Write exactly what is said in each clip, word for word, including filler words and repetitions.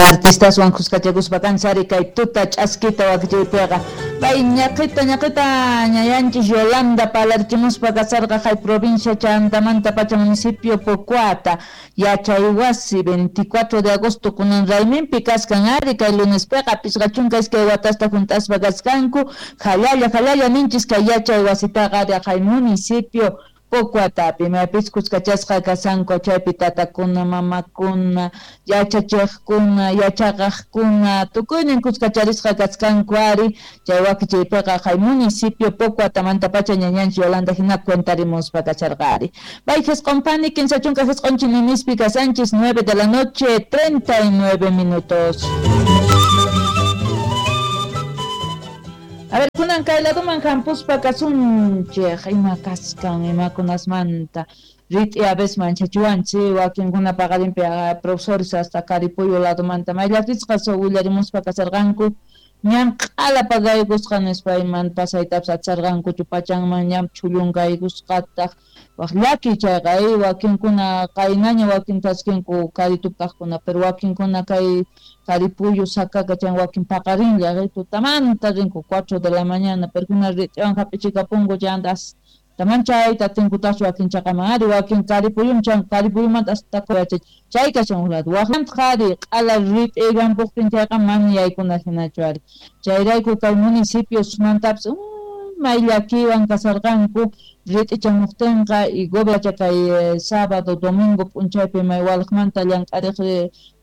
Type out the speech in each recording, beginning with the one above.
Artistaswan kuskachakuspa kansari kay tuta ch'askita wakichiypiqa pay ñaqita ñaqita ñayanchis Yolanda palarchimuspa kasarqa hay provincia Chantamanta pacha municipio Pocoata yachaywasi veinticuatro de agosto kunan rayminpi kaskan ari kay lunespiqa pisqa chunka iskay watasta junt'aspa kaskanku jalalla jalalla ninchis kay yachaywasitaqa ari hay municipio Pocoatapi maypis kuskachasqa kasanku chaypi tatakuna mamakuna yachachiqkuna yachaqaqkuna tukuynin kuskacharisqa kaskanku ari chay wakichiypiqa hay municipio Pocoatamantapacha ñañanchis Yolanda hina cuentarimuspa kacharqa ari bay jisq'unpani kinsa chunka jisq'un chininispi kasanchis nueve de la noche treinta y nueve minutos. A ver, kunan kay laduman hampuspa kasunchej ima kaskan imakunasmanta rit'i a veces manchachiwanchik wakinkuna paqarinpi profesores hasta Caripuyo ladumanta mayllatisqa willarimuspa kasarqanku ñan q'ala pagaykusqa nispa iman pasaytapas atisarqankuchu pachanman ñan chhullunqaykusqataq waq llaki chayqa wakinkuna qaynaña wakin taskinku Caritup kaqkuna pero wakinkuna kay Caripuyo Sacaca chan wakin paqarinlla tutamanta rinku cuatro de la mañana pero kuna rit'iwan hap'ichikapunku chayanta taman chayta tinkutaqchu wakin chaqaman ari wakin Caripuyum chan Caripuyumanta hasta yachach chay kashan uq lado waqmanta ari q'ala rit'i rampuqtin chayqa mana yaykuna hinachu ari chayrayku kay municipiosmantapas may llakiwan kasarqanku rit'i chamuqtinqa y gobierno kay sábado domingo p'unchaypi may walqmanta llank'ariq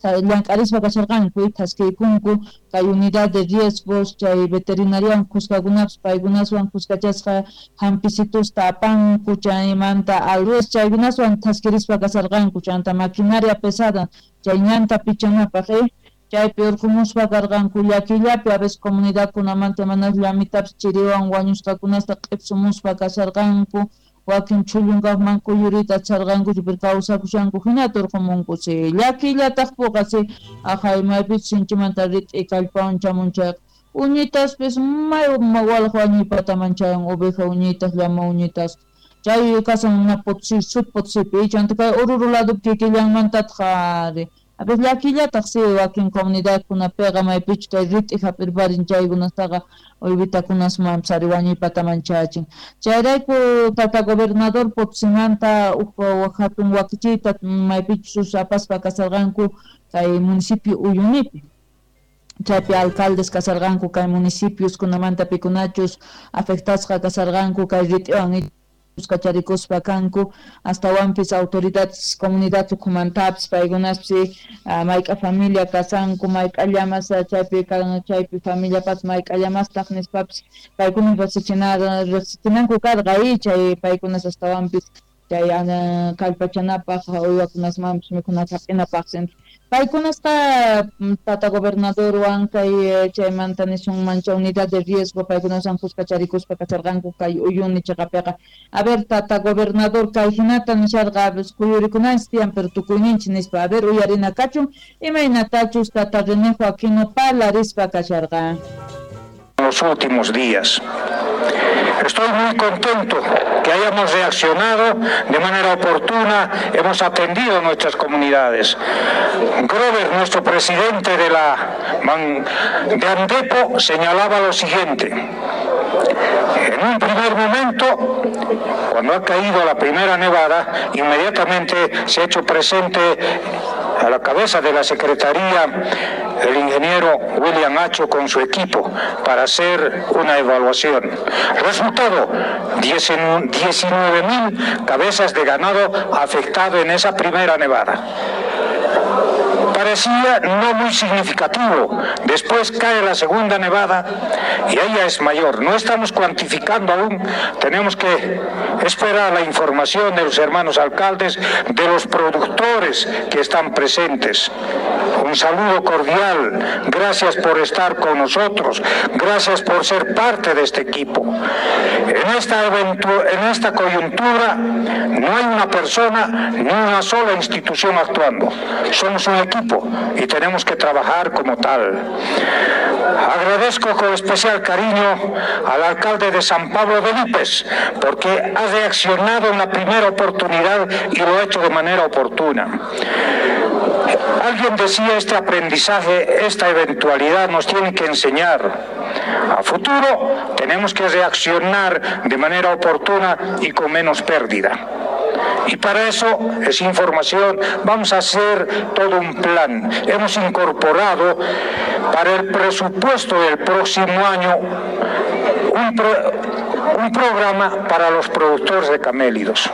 llank'arispa kasharqanku y thaskiykunku kay unidad de riesgos chay veterinariawan kuskakunapas paykunaswan kuskachasqa hampisitusta apanku chaymanta alrues chaykunaswan thaskirispa kasarqanku chanta maquinaria pesada chay ñanta pichanapaq eh chaypi urqumuspa karqanku llakillapi a veces comunidadkunamanta mana llamitapis chiriwan wañusqakunasta q'ipsumuspa kasharqanku wakin chhullunkaqman kuyuriyta atisarqankuchu pero kawsakushanku hinata urqumunku si llakillataq puqa si aqhay maypichus sinchimanta rit'i kallpawan chamun chayqa uñitaspis may walaq wañuypataman chayan oveja uñitas llama uñitas chay kasan una Potosí sud Potosípi chanta kay Oruro ladopi kikillanmantataq ari a veces llakillataq si wakin comunidadkunapiqa maypichus kay rit'i hap'irparin chaykunastaqa uywitakunasmanpas ari wañuypataman chayachin chayrayku tata gobernador Potosimanta uj hatun wakichiyta maypichus apaspa kasarqanku kay municipio Uyunipi chaypi alcaldes kasarqanku kay municipioskunamanta pikunachus afectasqa kasarqanku kay rit'iwan kacharikuspa kanku astawanpis autoridades comunidad ukhumantapis paykunaspis mayk'a familia kasanku mayk'a llamas chaypi chaypi familiapas mayk'a llamastaq nispapis paykuna riqsichinanku riqsichinanku karqa y chay paykunas astawanpis chay kallpachanapaq uywakunasmanpis mikhunata hap'inapaq paykunasqa tata gobernadorwan kay chaymanta nisunman chay unidad de riesgo paykunaswan kuskacharikuspa kacharqanku kay Uyuni chaqapiqa a ver tata gobernador kay hinata nisharqa kuyurikunanchis tiyan pero tukuyninchis nispa a ver uyarina kachun imaynatachus tata René Joaquino parlarispa kasharqa. Los últimos días estoy muy contento que hayamos reaccionado de manera oportuna, hemos atendido a nuestras comunidades. Grover, nuestro presidente de la de Andepo, señalaba lo siguiente. En un primer momento, cuando ha caído la primera nevada, inmediatamente se ha hecho presente a la cabeza de la Secretaría el ingeniero William Acho con su equipo para hacer una evaluación. Resultado, diecinueve mil cabezas de ganado afectado en esa primera nevada. Parecía no muy significativo. Después cae la segunda nevada y ella es mayor. No estamos cuantificando aún, tenemos que esperar la información de los hermanos alcaldes, de los productores que están presentes. Un saludo cordial, gracias por estar con nosotros, gracias por ser parte de este equipo. En esta, en esta coyuntura no hay una persona ni una sola institución actuando. Somos un equipo y tenemos que trabajar como tal. Agradezco con especial cariño al alcalde de San Pablo de Lípez, porque ha reaccionado en la primera oportunidad y lo ha hecho de manera oportuna. Alguien decía, este aprendizaje, esta eventualidad nos tiene que enseñar. A futuro tenemos que reaccionar de manera oportuna y con menos pérdida. Y para eso es información, vamos a hacer todo un plan. Hemos incorporado para el presupuesto del próximo año un, pro, un programa para los productores de camélidos.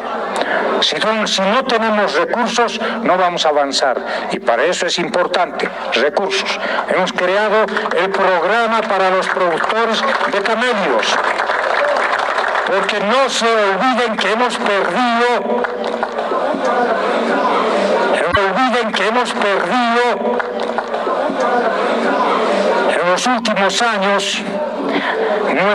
Si no, si no tenemos recursos, no vamos a avanzar. Y para eso es importante, recursos. Hemos creado el programa para los productores de camélidos. Porque no se olviden que hemos perdido, no olviden que hemos perdido en los últimos años nuestra